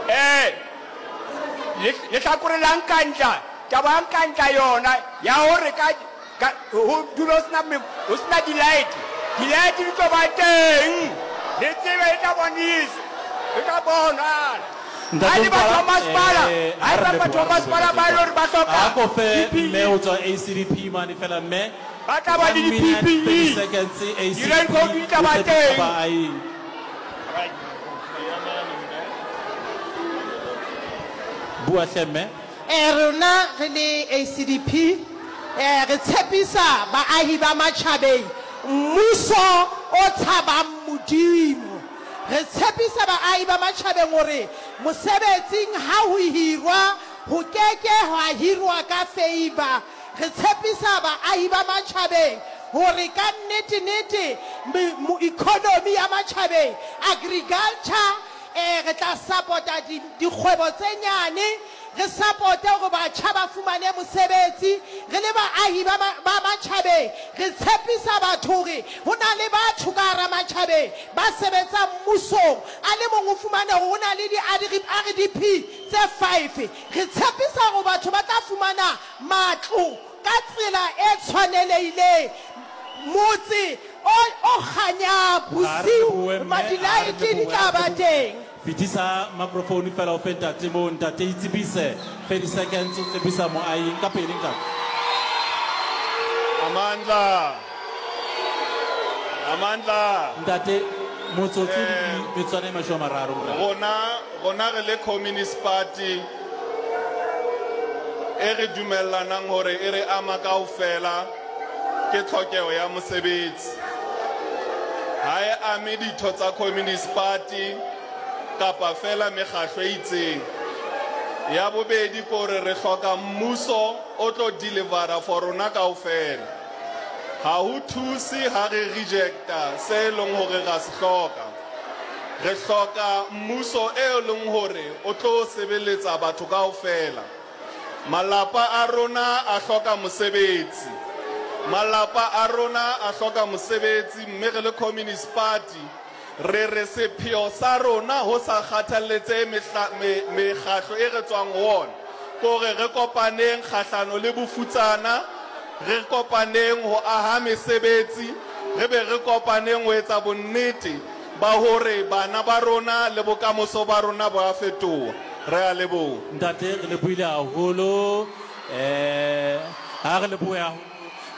Eh, lehlakore la Nkandla, taba ya Nkandla yona ya hore ka, ka, ho dule ho sena, ho sena di-light, di-light di tlo ba teng, le tsebe e tla bonisa, e tla bonahala. Ha e le batho ba masepala, ha e le batho ba masepala ba e le hore ba hloka A ko fe PPE. mme o tswa ACDP mane fela mme. Ba tla ba le One minute, di-PPE. 30 seconds, ACDP, Di-raincoat di tla ba o tsepisa teng. baahi. Bua hle mme. Eh, rona re le ACDP eh, re tshepisa baahi ba matjhabeng mmuso o tshabang Modimo. Re tshepisa baahi ba matjhabeng hore mosebetsing ha ho hirwa ho keke hwa hirwa ka favour. Re tshepisa baahi ba matjhabeng hore ka nnete-nete economy ya matjhabeng, agriculture, eh, re tla sapota di, dikgwebo tse nyane, re sapote hore batjha ba fumane mosebetsi. Re le baahi ba, ba matjhabeng, re tshepisa batho hore ho na le batho ka hara matjhabeng ba sebetsang mmusong. A le mong o fumane hore ho na le di-RDP tse five. Re tshepisa hore batho ba tla fumana matlo ka tsela e tshwanelehileng, motse o, o kganyang Ha re bosiu, lebohe mme, ha re dilaete di lebohe, tla ha re ba lebohe. teng. Fetisa microphone fela o fe ntate moo, ntate itsebise 30 seconds o tsebisa moahi ka pele ntate. Amandla. Amandla. Ntate motsotso le metswana e mashome a mararo morena. Rona rona re le Communist Party e re dumellanang hore e re ama kaofela ke tlhokeho ya mosebetsi. Ha e ame ditho tsa Communist Party kapa fela mekgahlo e itseng. Ya bobedi ke hore re hloka mmuso o tlo delivera for rona kaofela. Ha ho thuse ha re rejecta se e leng hore ra se hloka. Re hloka mmuso e leng hore o tlo sebeletsa batho kaofela. Malapa a rona a hloka mosebetsi. Malapa a rona a hloka mosebetsi mme re le Communist Party re re sepheo sa rona ho sa kgathalletsehe mekgatlo e re tswang ho ona ke hore re kopaneng kgahlano le bofutsana, re kopaneng ho aha mesebetsi, re be re kopaneng ho etsa bonnete ba hore bana ba rona le bokamoso ba rona bo a fetoha. Re a leboha. Ntate re lebohile haholo eh ha re lebohe haholo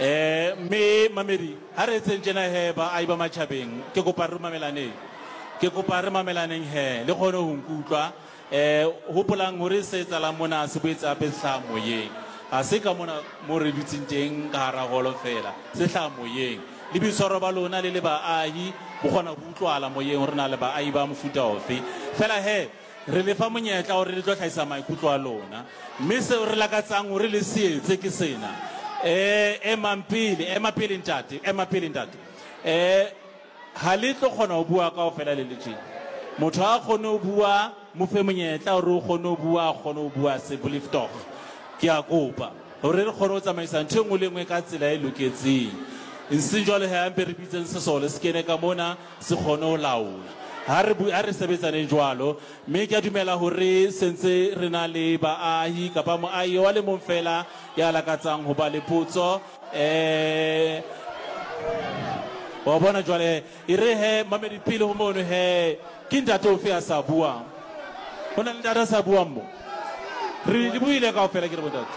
eh mme mamedi ha re etseng tjena he baahi ba matjhabeng ke kopa re mamelaneng ke kopa re mamelaneng he le kgone ho nkutlwa Eh, hopolang hore se etsahalang mona se boetse hape se hlaha moyeng. Ha se ka mona mo re dutseng teng ka hara holo feela, se hlaha moyeng. Le boitshwaro ba lona le le baahi bo kgona ho utlwahala moyeng hore na le baahi ba mofuta ofe. Feela he, re le fa monyetla hore le tlo hlahisa maikutlo a lona. Mme seo re lakatsang hore le se etse ke sena. Eh, emang pele, ema pele ntate, ema pele ntate. Eh, Ha le tlo kgona ho bua kaofela le le tjena. Motho ha a kgone ho bua, mo fe monyetla hore o kgone ho bua, a kgone ho bua asseblief tog. Ke a kopa hore re kgone ho tsamaisa ntho e nngwe le e nngwe ka tsela e loketseng. Eseng jwalo he, a mpe re bitseng sesole se kene ka mona se kgone ho laola. Ha re ha re sebetsaneng jwalo. Mme ke a dumela hore se ntse re na le baahi kapa moahi wa le mong feela ya lakatsang ho ba le potso. Eh, wa bona jwale e re he mamedi pele ho mono he ke ntate ofe a sa buang ho na le ntate a sa buang mo re le buile kaofela ke re bontate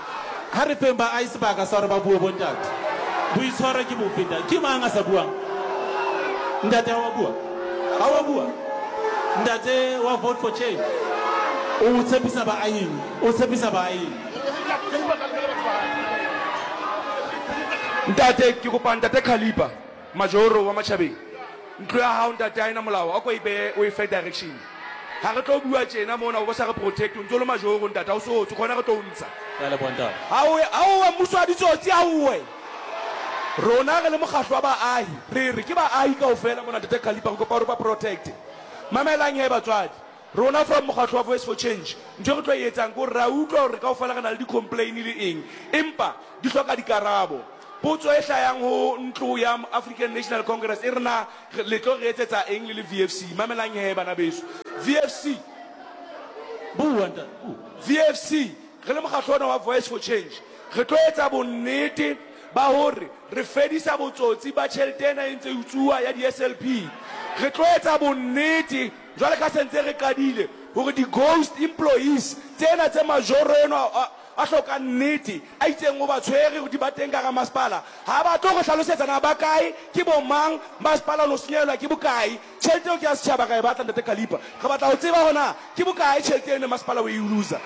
ha re feng ba ai sebaka sa hore ba bue bontate boitshwaro ke bofe ntate ke mang a sa buang ntate ha wa bua ha wa bua ntate wa vote for change o tshepisa baahi o tshepisa baahi Ntate ke kopa ntate Khalipa Majoro wa Matjhabeng ntlo ya hao ntate ha ena molao a ko e behe o e fe direction ha re tlo bua tjena mona o bo sa re protect o ntso le Majoro ntate ha o so tswe khona re tlo o ntsha Ke a leboha ntate. Aowe aowe mmuso wa ditsotsi aowe rona re le mokgahlo wa baahi re re ke baahi kaofela mona ntate Khalipa re kopa hore ba protect mamelang he batswadi Rona from mokgatlo wa Voice for Change, ntho e re tlo e etsang ke hore re a utlwa hore kaofela re na le di-complain le eng, empa di hloka dikarabo. Potso e hlayang ho ntlo ya African National Congress e re na le tlo re etsetsa eng le le VFC? Mamelang hee bana beso, VFC. Bua ntate, bua. VFC, re le mokgatlo ona wa Voice for Change, re tlo etsa bonnete ba hore re fedisa botsotsi ba tjhelete ena e ntse e utsuwa ya di-SLP. Re tlo etsa bonnete, jwale ka se ntse re qadile, hore di-ghost employees tsena tse majoro enwa a, a hlokang nnete, a itseng o ba tshwere hore di ba teng ka hara masepala, ha ba tlo re hlalosetsa na ba kae, ke bo mang, masepala o no senyehelwa ke bokae. Tjhelete eo ke ya setjhaba, re a e batla Ntate Khalipa. Re batla ho tseba hore na ke bokae tjhelete eno masepala o e loser.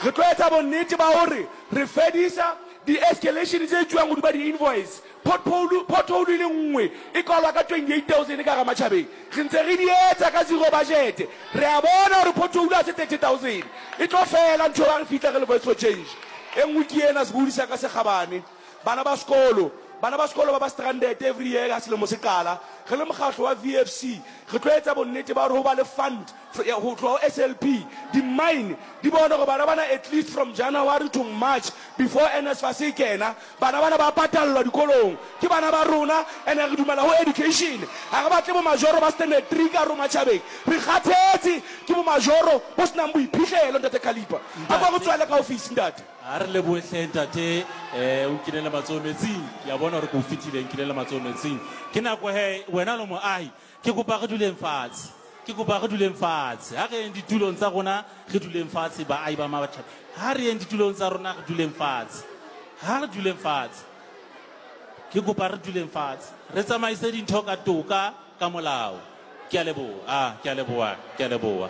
Re tlo etsa bonnete ba hore re fedisa di-escalation tse etsuwang hodima di-invoice. Pothole, pothole e le nngwe e kwalwa ka 28,000 ka hara matjhabeng. Re ntse re di etsa ka zero budget. Re a bona hore pothole ha se 30,000. E tlo fela ntho eo ha re fihla re le Voice for Change. E nngwe ke ena, sebohodi sa ka se kgabane. Bana ba sekolo, Bana ba sekolo ba ba stranded every year ha selemo se qala. Re le mokgatlo wa VFC re tlo etsa bonnete ba hore ho ba le fund ho tloha ho SLP. Di-mine di bone hore bana bana at least from January to March before NSFAS e kena, bana bana ba patallwa dikolong. Ke bana ba rona and re dumela ho education. Ha re batle bo majoro ba standard three ka hare ho matjhabeng. Re kgathetse ke bo majoro bo senang boiphihlelo Ntate Khalipa. A ko re tswele ka office Ntate. A re lebohe hle ntate, o nkinele matsoho metsing. Ke a bona hore ke o fetile, nkinele matsoho metsing. Ke nako he, wena le moahi, ke kopa re duleng fatshe. Ke kopa re duleng fatshe. Ha re yeng ditulong tsa rona, re duleng fatshe, baahi ba Matjhabeng. Ha re yeng ditulong tsa rona, re duleng fatshe. Ha re duleng fatshe. Ke kopa re duleng fatshe. Re tsamaise dintho ka toka, ka molao. Ke a leboha. Ah, ke a leboha, ke a leboha.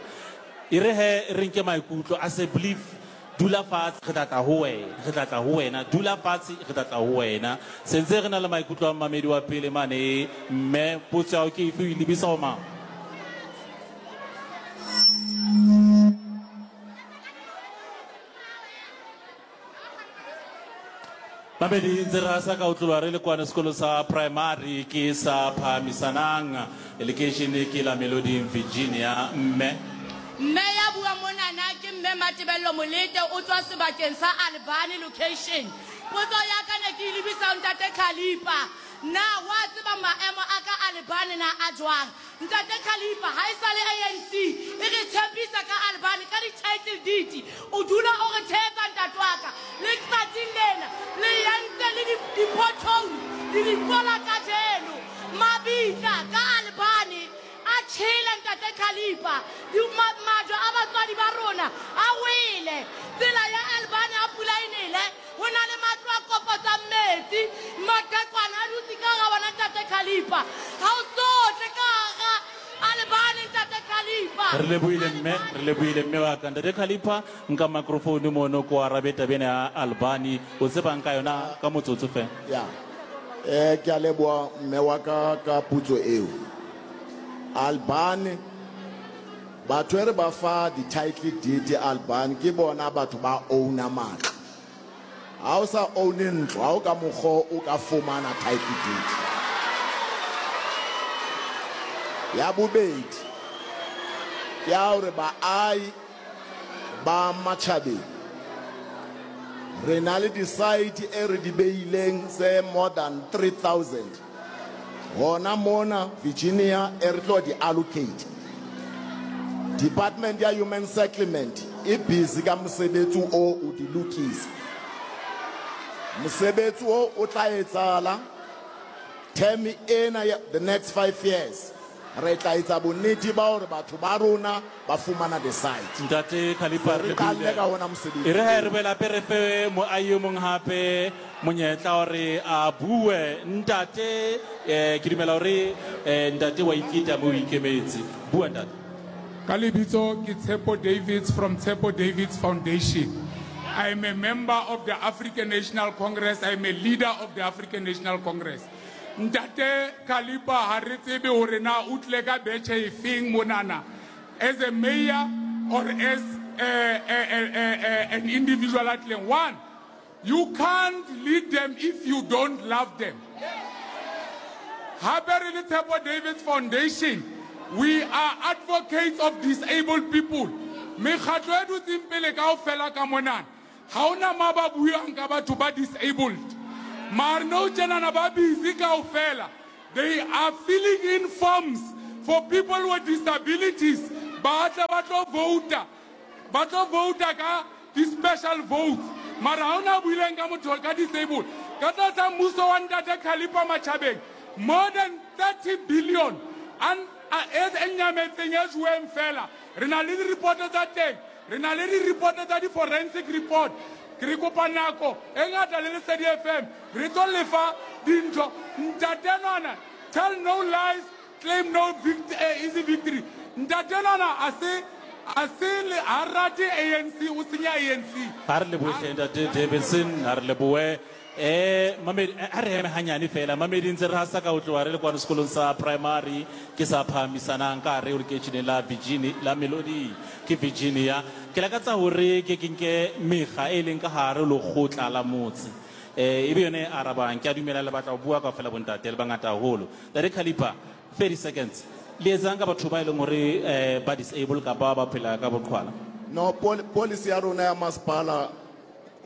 E re he re nke maikutlo. I say believe Dula fatshe, re tla tla ho wena. Re tla tla ho wena. Dula fatshe, re tla tla ho wena. Se ntse re na le maikutlo a mmamedi wa pele mane. Mme, potso ya hao ke efe? O e lebisa ho mang? Mamedi ntse re hasa ka ho tloha re le kwana sekolo sa primary ke sa phahamisanang lekeishene ke la Meloding Virginia. Mme. Mme ya buang monana ke Mme Matebello Molete o tswa sebakeng sa Albany location. Potso ya ka ne ke e lebisa ho Ntate Khalipa. Na wa tseba maemo a ka Albany na a jwang? Ntate Khalipa, haesale ANC e re tshepisa ka Albany ka di-title deed, o dula o re thetsa ntate wa ka. Le tsatsing lena le entse le di-pothole le di kwala kajeno. Mabitla ka Albany a tjhele ntate Khalipa. Majwe a batswadi ba rona a wele. Tsela ya Albany ha pula e nele, Ho na le matlo a kopotsang metsi, maqhekwana a dutse ka hara ona Ntate Khalipa. Ha o so tle ka hara Albany Ntate Khalipa. Re lebohile mme, re lebohile mme wa ka. Ntate Khalipa, nka microphone mono ko arabe taba ena ya Albany. O tsebang ka yona ka motsotso fela? Ya. Eh, ke a leboha mme wa ka ka potso eo. Albany batho e re ba fa di-title deed Albany ke bona batho ba owner matlo. Ha o sa own-e ntlo, ha o ka mokgo o ka fumana title deed. Ya bobedi ke ya hore baahi ba matjhabeng re na le di-site e re di behileng tse more than 3000 hona mona Virginia e re tlo di allocate. Department ya Human Settlement e busy ka mosebetsi o o di lokisa. Mosebetsi o o tla etsahala term ena ya the next 5 years. Re tla etsa bonnete ba hore batho ba rona ba fumana the site. Ntate Khalipa, re Re qalle lebohile. ka hona mosebetsi E re he re oo. boele hape re fe moahi e mong hape monyetla hore a bue. Ntate, eh, ke dumela hore eh, ntate wa iketa mme o ikemetse. Bua ntate. Ka lebitso ke Tshepo Davids from Tshepo Davids Foundation. I am a member of the African National Congress. I am a leader of the African National Congress. Ntate Khalipa ha re tsebe hore na o tlile ka betjhe efeng monana as a mayor or as an individual a tlileng. One, you can't lead them if you don't love them. Hape re le Tshepo Davids Foundation, we are advocates of disabled people. Mekgatlo e dutseng pele kaofela ka monana, Ha hona ma ba buang ka batho ba disabled. Maar nou tjenana ba busy kaofela. They are filling in forms for people with disabilities. Ba tle ba tlo vouta. Ba tlo vouta ka di-special votes. Mara ha hona a buileng ka motho ka disabled. Ka tlasa mmuso wa Ntate Khalipa Matjhabeng, more than 30 billion an e nyametseng e joweng fela. Re na le di-report tsa teng. Re na le di-report tsa di-forensic report. Re kopa nako e ngata le Lesedi FM. Re tlo lefa dintho. Ntate enwana, tell no lies, claim no vict eh, easy victory. Ntate enwana a se a se le ha rate ANC, o senya ANC. A re lebohe hle Ntate Davidson, a re lebohe. Eh, mamedi, a re eme hanyane fela. Mamedi ntse re hasa ka ho tloha re le kwano sekolong sa primary ke sa phahamisanang ka hare ho lekeisheneng la Virginia, la Melody ke Virginia. Ke lakatsa hore ke ke nke mekga e leng ka hare ho lekgotla la motse. Eh, e be yona e arabang. Ke a dumela le batla ho bua kaofela bontate, le bangata haholo. Ntate Khalipa, 30 seconds. Le etsang ka batho ba e leng hore eh, ba disable kapa ba phela ka boqhwala? No, pol policy ya rona ya masepala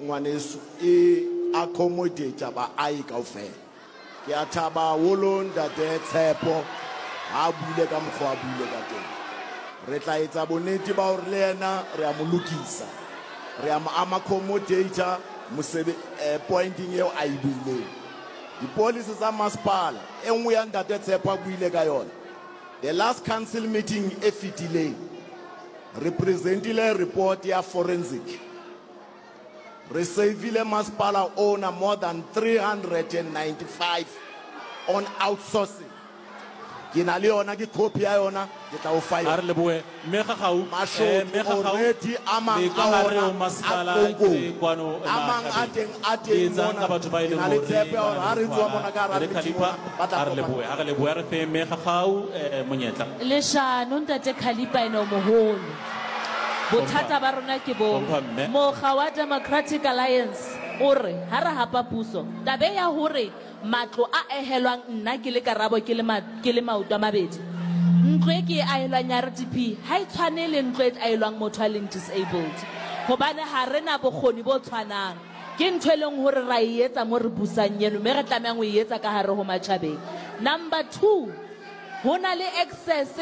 ngwaneso e accommodate baahi kaofela. Ke a thaba haholo ntate Tshepo ha a buile ka mokgwa a buile ka teng. Re tla etsa bonnete ba hore le yena re a mo lokisa. Re a mo accommodate mosebe eh, pointing eo a e buileng. Dipolisi tsa masepala e nngwe ya ntate Tshepo a buile ka yona. The last council meeting e fetileng re presentile report ya forensic. Re savile masepala ona more than 395 on outsourcing. Ke na le yona, ke copy ya yona, ke tla o fa A yona. re lebohe. Mme Gagau, eh, Mashodu Mme Gagau, already a mang le ka a hare ho ona a masepala ke Tlonkong. kwano A mang a Matjhabeng. teng a Le teng etsang mona. ka batho ba e Ke leng na le hore tshepo ya ba hore na ha le re tswa boqhwala. mona ka hara Ntate meeting Khalipa, mona, ba tla a re kopana. lebohe, a re lebohe, a re fe Mme Gagau, eh, monyetla. Leshano Ntate Khalipa ene o moholo. Bothata ba rona ke bo Hlompha mme. mokga wa Democratic Alliance o re ha re hapa puso taba e ya hore matlo a ehelwang nna ke le Karabo ke le ma, ke le maoto a mabedi ntlo e ke e ahelwang ya RDP ha e tshwane le ntlo e ahelwang motho a leng disabled hobane ha re na bokgoni bo tshwanang. Ke ntho e leng hore ra e etsa mo re busang eno mme re tlamehang ho e etsa ka hare ho matjhabeng. Number two, Ho na le access,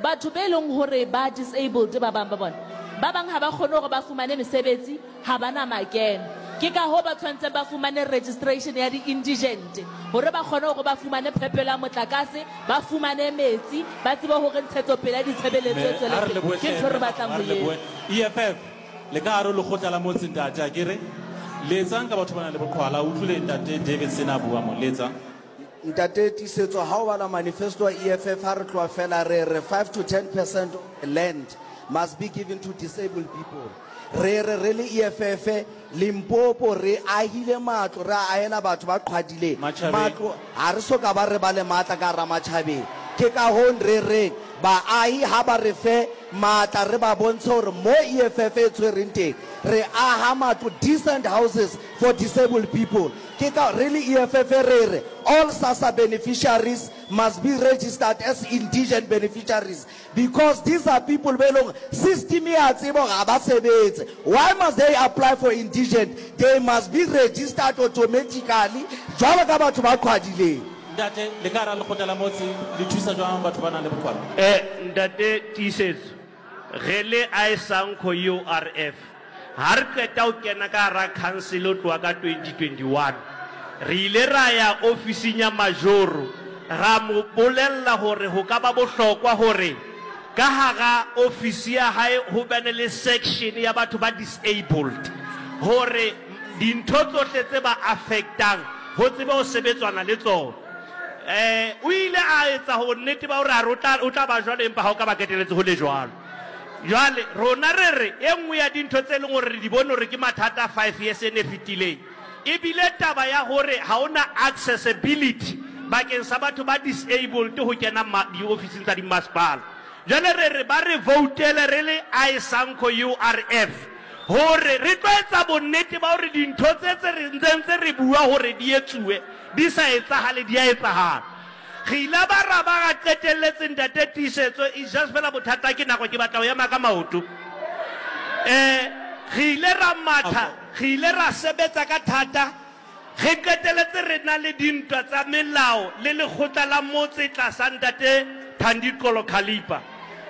batho be leng hore ba disabled ba bang ba bona. Ba bang ha ba kgone hore ba fumane mesebetsi, ha ba na makeno. Ke ka hoo ba tshwanetseng ba fumane registration ya di-indigent hore ba kgone hore ba fumane phepelo ya motlakase, ba fumane metsi, ba tsebe hore ntshetsopele ya ditshebeletso e Mme, tswele ha re pele. lebohe Ke hle, ntho e re mme, batlang ha ho re lebohe. etsa. EFF, le ka hare ho lekgotla la motse ntate, akere? Le etsang ka batho ba nang le boqhwala? O utlwile ntate Davidson a bua mo, le etsang? Ntate Tiisetso, ha o bala manifesto wa EFF ha re tloha fela re re 5 to 10 percent of the land must be given to disabled people. Re re re le EFF Limpopo re ahile matlo re a ahela batho ba qhwadileng. Matjhabeng. Matlo ha re so ka ba re ba le matla ka hara matjhabeng. Ke ka hoo re reng baahi ha ba re fe matla re ba bontshe hore mo EFF e tshwereng teng re aha matlo, decent houses for disabled people. Ke ka re le EFF re re all SASSA beneficiaries must be registered as indigent beneficiaries because these are people be leng system e a tseba hore ha ba sebetse. Why must they apply for indigent? They must be registered automatically jwalo ka batho ba qhwadileng. Ntate, le ka hara lekgotla la motse le thusa jwang batho ba nang le boqhwala? Ntate Tiisetso, Re le Isanco URF, ha re qeta ho kena ka hara khansele ho tloha ka 2021, re ile ra ya ofising ya majoro ra mo bolella hore ho ka ba bohlokwa hore ka hara ofisi ya hae ho bane le section ya batho ba disabled hore dintho tsohle tse ba affectang ho tsebe ho sebetswana le tsona. O ile a etsa bonnete ba hore a re o tla, o tla ba jwalo, empa ha o ka ba keteletse ho le jwalo. Jwale, rona re re, e nngwe ya dintho tse leng hore re di bone hore ke mathata five years ena e fetileng, e bile taba ya hore ha ho na accessibility bakeng sa batho ba disabled ho kena diofising tsa dimmasepala. Jwale re re ba re voutele re le ISANCO URF hore re tlo etsa bonnete ba hore dintho tse tse re ntseng tse re bua hore di etsuwe di sa etsahale di a etsahala. Re ile ba ra ba ra qetelletse Ntate Tiisetso, it's just fela bothata ke nako ke batla ho ema ka maoto. Eh, re ile ra matha, re ile ra sebetsa ka thata, re qetelletse re na le dintwa tsa melao le lekgotla la motse tlasa Ntate Thandi Qolo Khalipa.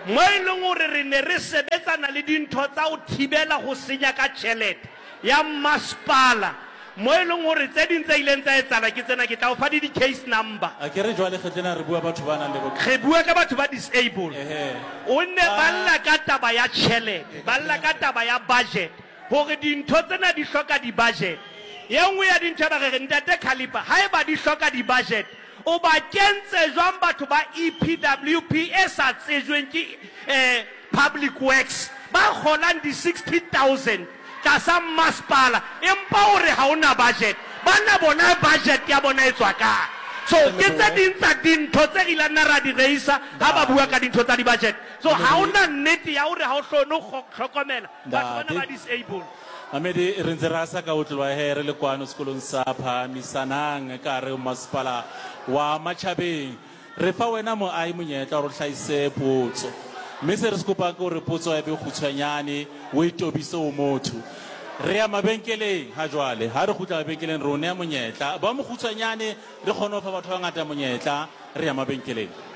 Mo e leng hore re ne re sebetsana le dintho tsa ho thibela ho senya ka tjhelete ya mmasepala, mo e leng hore tse ding tse ileng tsa etsahala ke tsena, ke tla o fa le di-case number. Akere jwale kgetlo ena re bua batho ba nang le boqhwala. Re bua ka batho ba disable. Ehe. O nne ba lla ka taba ya tjhelete, ba lla ka taba ya budget, hore dintho tsena di hloka di-budget. Ye nngwe ya dintho ya ba re re, Ntate Khalipa, haeba di hloka di-budget, O ba kentse jwang batho ba EPWP e sa tsejweng ke Public Works ba kgolang di 60,000 tlasa mmasepala empa o re ha o na budget? Banna bona budget ya bona e tswa kae? So ke tse ding tsa dintho tse re ilang nna ra di reisa ha ba bua ka dintho tsa di budget. So ha o na nnete ya hore ha o hlone ho hlokomela batho bana ba disable. Mamedi, re ntse re asa ka ho tloha he re le kwano sekolong sa Phahamisanang ka hare ho masepala wa Matjhabeng. Re fa wena moahi monyetla hore o hlahise potso. Mme se re se kopang ke hore potso e be kgutshwanyane, o e tobise ho motho. Re ya mabenkeleng ha jwale. Ha re kgutla mabenkeleng re o neha monyetla. Ba mokgutshwanyane re kgone ho fa batho ba bangata monyetla. Re ya mabenkeleng.